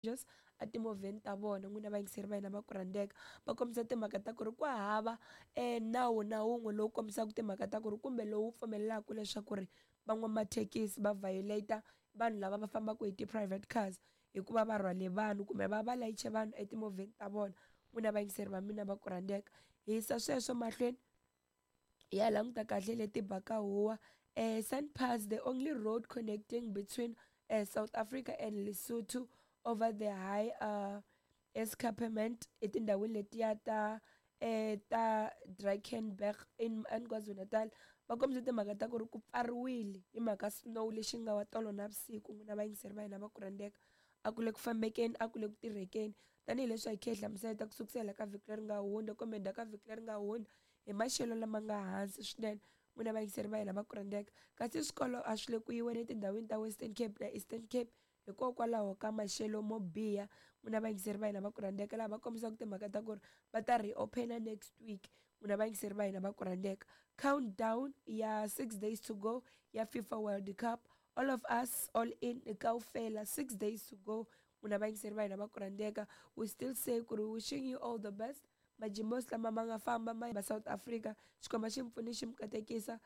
Just etimovheni ta vona n'wina vayingiseri va hina va ku rhandzeka va kombisa timhaka ta ku ri ku hava nawu na wun'we lowu kombisaka timhaka ta ku ri kumbe lowu pfumelelaka leswaku ri van'wamathekisi va violate vanhu lava va fambaka hi ti-private cars hikuva va rhwale vanhu kumbe va va layiche vanhu etimovheni ta vona n'wina vayingiseri va mina va ku rhandzeka hi yisa sweswo mahlweni hi ya languta kahle leti baka huwa SunPass, the only road connecting between South Africa and Lesotho over the high escarpment etindhawini letiya ta ta Drakensberg in KwaZulu-Natal va kombise timhaka ta ku ri ku pfariwile hi mhaka snow lexi nga wa tolo navusiku n'wina vayingiseri va hina va ku rhandzeka a ku le ku fambekeni a ku le ku tirhekeni tanihileswi a hi khe hi hlamusela ku sukusela ka vhiki leri nga hundza kumbe ndzhaku ka vhiki leri nga hundza hi maxelo lama nga hansi swinene n'wina vayingiseri va hina va ku rhandzeka kasi swikolo a swi le ku yiweni etindhawini ta Western Cape na Eastern Cape hikokwalaho ka maxelo mo biha n'wina vayingiseri va hina va ku rhandzeka laha va kombisaka timhaka ta ku ri va ta reopen next week n'wina vayingiseri va hina va ku rhandzeka countdown ya 6 days to go ya FIFA World Cup all of us all in kaufela 6 days to go n'wina vayingiseri va hina va ku rhandzeka we still say ku ri wishing you all the best majimos lama ma nga famba ma va South Africa xikwembu xi mi pfuni xi mi katekisa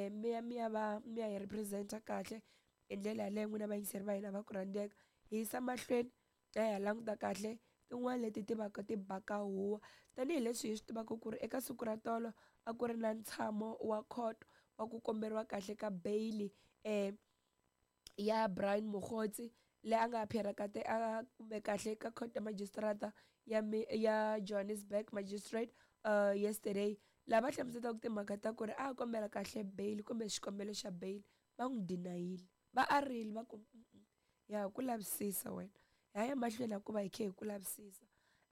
mi ya mi ya va mi ya hi represent-a kahle hi ndlela yaleyo n'wina vayingiseri va hina va ku rhandzeka hi yisa mahlweni hi ya languta kahle tin'wana leti ti vaka ti baka huwa tanihileswi hi swi tivaka ku ri eka siku ra tolo a ku ri na ntshamo wa court wa ku komberiwa kahle ka bail ya Brian Mogotsi leyi a nga appear ka a kumbe kahle ka court ya magistrata ya ya Johannesburg magistrate yesterday laha va hlamuselaka timhaka ta ku ri a kombela kahle bail kumbe xikombelo xa bail va n'wi deny-ile va arile va ku ya ku lavisisa wena ha ya mahlweni hikuva hi khe hi ku lavisisa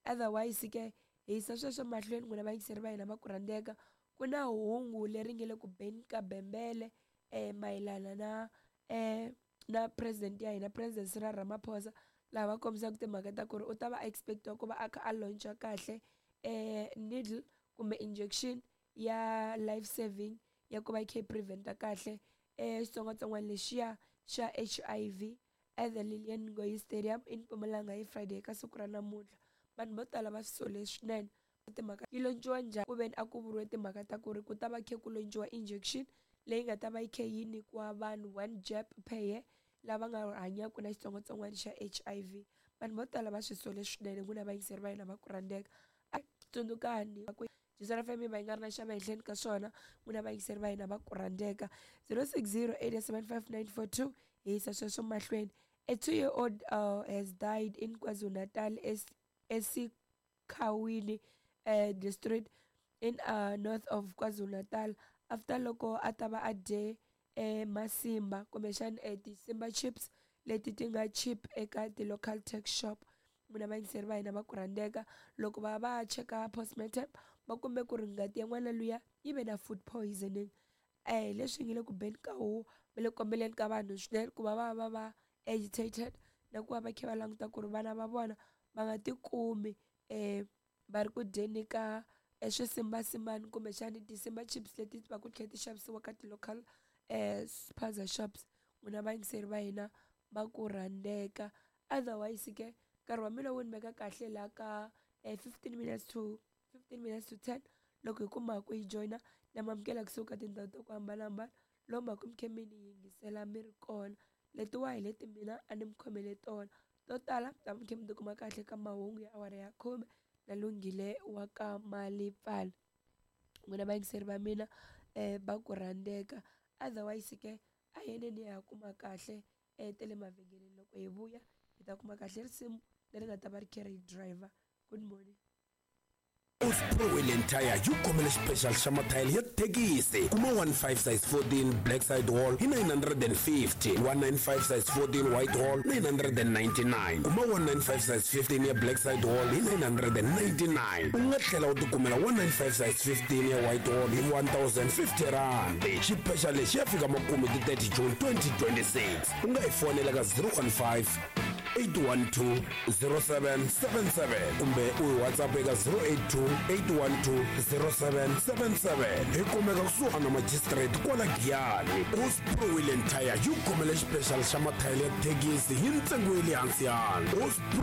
otherwise ke hi yisa sweswo mahlweni n'wina vayingiseri va hina va ku rhandzeka ku na hungu leri nge le ku beni ka bembele mayelana na na president ya hina President Cyril Ramaphosa laha va kombisaka timhaka ta ku ri u ta va expect-iwa ku va a kha a launch-a kahle needle kumbe injection ya life saving ya ku va yi kha yi prevent-a kahle xitsongwatsongwana lexiya xa HIV at the Lilian Ngoyi Stadium in Mpumalanga hi Friday ka siku ra namuntlha vanhu vo tala va swi sole swinene timhaka yi launch-iwa njhani ku veni a ku vuriwe timhaka ta ku ri ku ta va khe ku launch-iwa injection leyi nga ta va yi khe yi nyikiwa vanhu one jab per year lava nga hanyaka na xitsongwatsongwana xa HIV vanhu vo tala va swi sole swinene n'wina vayingiseri va hina va ku rhandzeka tsundzukani ku Jisana FM va yi nga ri na xava ehenhleni ka swona n'wina vayingiseri va hina va ku rhandzeka 060 875 hi yisa sweswo mahlweni a 2-year-old has died in KwaZulu-Natal eSikhawini district in north of KwaZulu-Natal after loko a ta va a dye masimba kumbexana ti-Simba chips leti ti nga cheap eka ti-local tuck shop n'wina vayingiseri va hina va ku rhandzeka loko va va cheka postmortem va kume ku ri ngati ya n'wana luya yi ve na food poisoning leswi nge le ku beni ka huwa va le ku kombeleni ka vanhu swinene ku va va va va agitated na ku va va kha va languta ku ri vana va vona va nga tikumi va ri ku dyeni ka swisimbasimbani kumbexani ti-Simba chips leti va ku tlhela ti xavisiwa ka ti-local spaza shops n'wina vayingiseri va hina va ku rhandzeka otherwise ke nkarhi wa mina wu ni veka kahle laha ka 15 minutes to 15 minutes to 10 loko hi kuma ku yi joyina na mamukela kusuka tindhawu ta ku hambanahambana lomu va ku mi khe mi ni yingisela mi ri kona letiwa hi leti mina a ni mi khomele tona to tala ta mi khe mi tikuma kahle ka mahungu ya awara ya khume na Lunghile wa ka Malipfala n'wina vayingiseri va mina va ku rhandzeka otherwise ke a yeneni ya kuma kahle ta le mavhengeleni loko hi vuya hi ta kuma kahle risimu leri nga ta va ri kha ri driver good morning. Pro Wheel Tire yi khomele xipexal xa mathayele ya thekisi kuma 15 size 14 black side wall hi 950, 195 size 14 white wall 999, kuma 195 size 15 ya black side wall hi 999. U nga tlhela u tikumela 195 size 15 ya white wall hi 1050 rand. Xipexal lexi ya fika makumu ti 30 June 2026. U nga hi fonela ka 015 812 0777 kumbe u hi WhatsApp eka 082 812 0777. Hi kumeka kusuhana na magistrate kwala Giyani. Osprey Wheel and Tire yi khomele xipexal xa mathayele ya thekisi hi ntsengo ya le hansi yana. Osprey